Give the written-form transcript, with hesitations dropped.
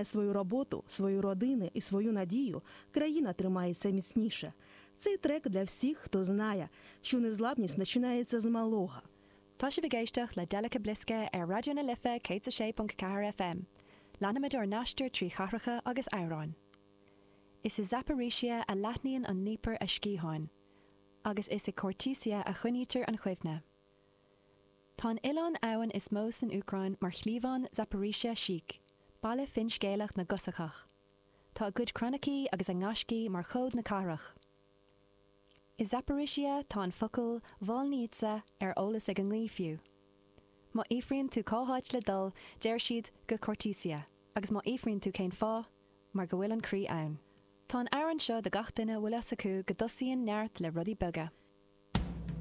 тримає свою роботу, свої родини і свою надію, країна тримається міцніше. Цей трек для всіх, хто знає, що незламність починається з малого. Tá sibh ag éisteacht le Delica Bliska ar Raidió na Life 106.4 FM. Leanaimid ár n-aistear trí chathracha agus amhráin. Is i Zaporizhia a leathnaíonn an Dnieper a sciatháin, agus is i Khortytsia a choinnítear an chuimhne. Tá an oileán abhann is mó san Úcráin mar chliabhán Zaporizhia Sich, baile finscéalach na gCosacach. Tá a gcuid croinicí agus a ngaiscí mar chód na cathrach. I Zaporizhia tá an focal Volnytsia ar eolas ag an ngaoth fiú. Má fhiafraíonn tú cá háit le dul, deir siad go Khortytsia, agus má fhiafraíonn tú cén fáth, mar go bhfuil an croí ann. Tá an amhrán seo do gach duine a bhfuil fhios acu go dtosaíonn neart le rudaí beaga.